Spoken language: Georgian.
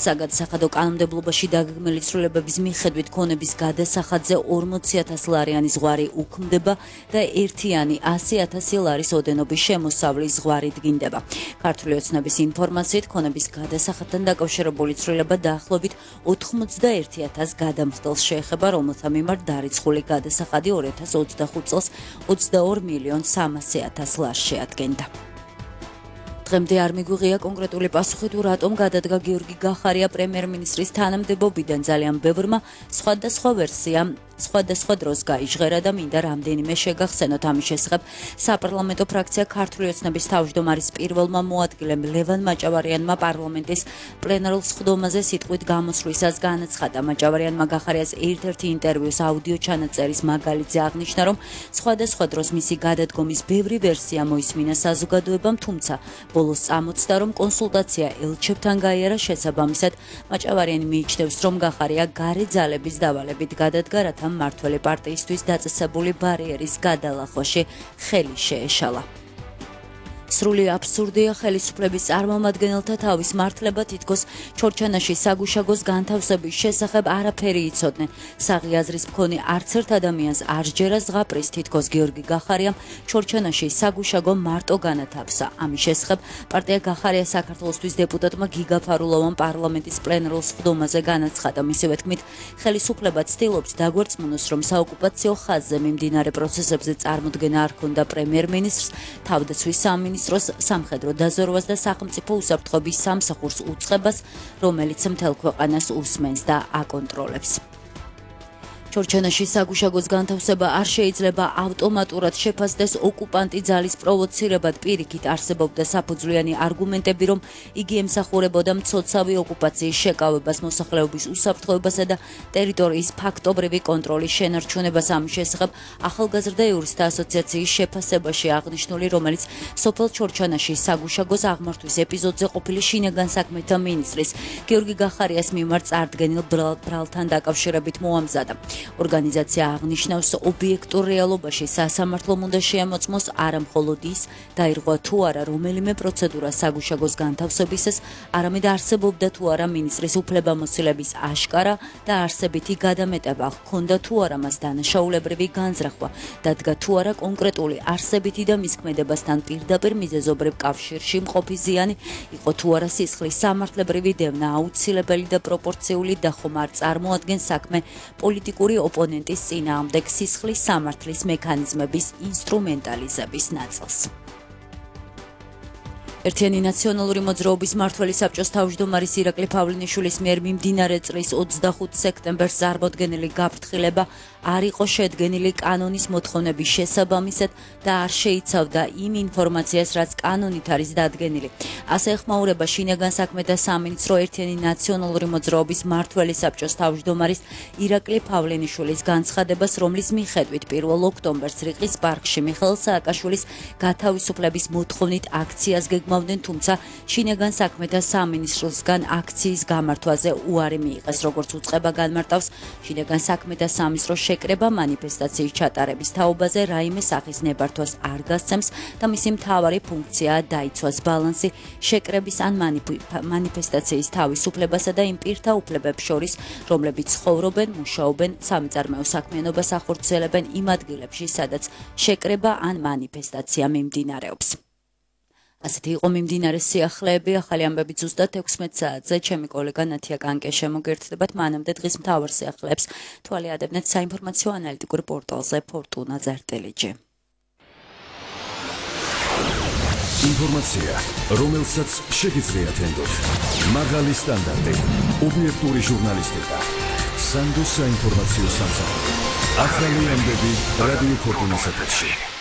საგადასახადო კანონმდებლობაში დაგეგმილი ცვლილებების მიხედვით ქონების გადასახადზე 40,000 ლარიანი ზღვარი უქმდება და ერთიანი 100,000 ლარის ოდენობის შემოსავლის ზღვარი დგინდება. ქართული ოცნების ინფორმაციით ქონების გადასახადთან დაკავშირებული ცვლილება დაახლოებით 91,000 გადამხდელს შეეხება, რომელთა მიმართ დარიცხული გადასახადი 2025 წელს 22,300,000 ლარს შეადგენდა. დღემდე არ მიგვიღია კონკრეტული პასუხი თუ რატომ გადადგა გიორგი გახარია პრემიერ-მინისტრის თანამდებობიდან. ძალიან ბევრმა სხვადასხვა ვერსია სხვადასხვა დროს გაიჟღერა და მინდა რამდენიმე შეგახსენოთ. ამის შესახებ საპარლამენტო ფრაქცია ქართული ოცნების თავმჯდომარის პირველმა მოადგილემ ლევან მაჭავარიანმა პარლამენტის პლენარულ სხდომაზე სიტყვით გამოსვლისას განაცხადა. მაჭავარიანმა გახარიას ერთ-ერთი ინტერვიუს აუდიო ჩანაწერის მაგალითზე აღნიშნა, რომ სხვადასხვა დროს მისი გადადგომის ბევრი ვერსია მოისმინა საზოგადოებამ, თუმცა ბოლოს წამოწდა, რომ კონსულტაცია ელჩებთან გაიარა. შესაბამისად, მაჭავარიანი მიიჩნევს, რომ გახარია გარე ძალების დავალებით გადადგა, რათა მმართველი პარტიისთვის დაწესებული ბარიერის გადალახვაში ხელი შეეშალა. სრული აბსურდია ხელისუფლების წარმომადგენელთა თავის მართლება თითქოს ჩორჩანაში საგუშაგოს განთავსების შესახებ არაფერი იცოდნენ. საღი აზრის მქონე არც ერთ ადამიანს არ სჯერა ზღაპრის თითქოს გიორგი გახარიამ ჩორჩანაში საგუშაგო მარტო განათავსა. ამის შესახებ პარტია გახარია საქართველოსთვის დეპუტატმა გიგა ფარულოვამ პარლამენტის პლენარულ სხდომაზე განაცხადა. მისივე თქმით, ხელისუფლება ცდილობს დაგვერწმუნოს, რომ საოკუპაციო ხაზზე მიმდინარე პროცესებზე წარმოდგენა არ ჰქონდა პრემიერ-მინისტრს, თავდაცვის სამინისტროს, სამხედრო დაზვერვას და სახელმწიფო უსაფრთხოების სამსახურს უწყებას, რომელიც მთელ ქვეყანას უსმენს და აკონტროლებს. ჩორჩანაში საგუშაგოს განთავსება არ შეიძლება ავტომატურად შეფასდეს ოკუპანტი ძალის პროვოცირებად. პირიქით არსებობდა საფუძვლიანი არგუმენტები, რომ იგი ემსახურებოდა მცოცავი ოკუპაციის შეკავებას, მოსახლეობის უსაფრთხოებასა და ტერიტორიის ფაქტობრივი კონტროლის შენარჩუნებას. ამის შესახებ ახალგაზრდა იურისტთა ასოციაციის შეფასებაში აღნიშნული, რომელიც სოფელ ჩორჩანაში საგუშაგოს აღმართვის ეპიზოდზე ყოფილი შინაგან საქმეთა მინისტრის გიორგი გახარიას მიმართ წარდგენილ ბრალთან დაკავშირებით მოამზადა. ორგანიზაცია აღნიშნავს, ობიექტურ რეალობაში სასამართლომ უნდა შეამოწმოს არა მხოლოდ ის, დაირღვა თუ არა რომელიმე პროცედურა საგუშაგოს განთავსებისას, არამედ არსებობდა თუ არა მინისტრის უფლებამოსილების აშკარა და არსებითი გადამეტება, ჰქონდა თუ არა მას დანაშაულებრივი განზრახვა, დადგა თუ არა კონკრეტული არსებითი და მის ქმედებასთან პირდაპირ მიზეზობრივ კავშირში მყოფი ზიანი, იყო თუ არა სისხლის სამართლებრივი დევნა აუცილებელი და პროპორციული და ხომ არ წარმოადგენს საქმე პოლიტიკური ოპონენტის წინააღმდეგ სისხლის სამართლის მექანიზმების ინსტრუმენტალიზების ნაწილს. ერთიანი ნაციონალური მოძრაობის მმართველი საბჭოს თავმჯდომარის ირაკლი პავლენიშვილის მიერ მიმდინარე წლის 25 სექტემბერს წარმოდგენილი გაფრთხილება არ იყო შედგენილი კანონის მოთხოვნების შესაბამისად და არ შეიცავდა იმ ინფორმაციას, რაც კანონით არის დადგენილი. ასე ეხმაურება შინაგან საქმეთა სამინისტრო ერთიანი ნაციონალური მოძრაობის მმართველი საბჭოს თავმჯდომარის ირაკლი პავლენიშვილის განცხადებას, რომლის მიხედვით 1 ოქტომბერს რიყის პარკში მიხეილ სააკაშვილის გათავისუფლების მოთხოვნით აქციას გეგმავდნენ, თუმცა შინაგან საქმეთა სამინისტროსგან აქციის გამართვაზე უარი მიიღეს. როგორც უწყება განმარტავს, შინაგან საქმეთა სამინისტრო შეკრება მანიფესტაციის ჩატარების თაობაზე რაიმე სახის ნებართვას არ გასცემს და მისი მთავარი ფუნქციაა დაიცვას ბალანსი შეკრების ან მანიფესტაციის თავისუფლებასა და იმ პირთა უფლებებს შორის, რომლებიც ცხოვრობენ, მუშაობენ, სამიწარმეო საქმიანობას ახორციელებენ იმ ადგილებში, სადაც შეკრება ან მანიფესტაცია მიმდინარეობს. ასეთი იყო მიმდინარე სიახლეები. ახალი ამბები ზუსტად 16 საათზე ჩემი კოლეგა ნათია კანკე შემოგერთდებათ. მანამდე დღის მთავარ სიახლეებს თვალი ადებნეთ საინფორმაციო ანალიტიკურ პორტალზე fortuna.lg. ინფორმაცია, რომელსაც შეგიძლიათ ენდოთ. მაღალი სტანდარტი, ობიექტური ჟურნალისტიკა, სანდოს საინფორმაციო სამსახური. ახალი ამბები რადიო ფორტუნას ეთერში.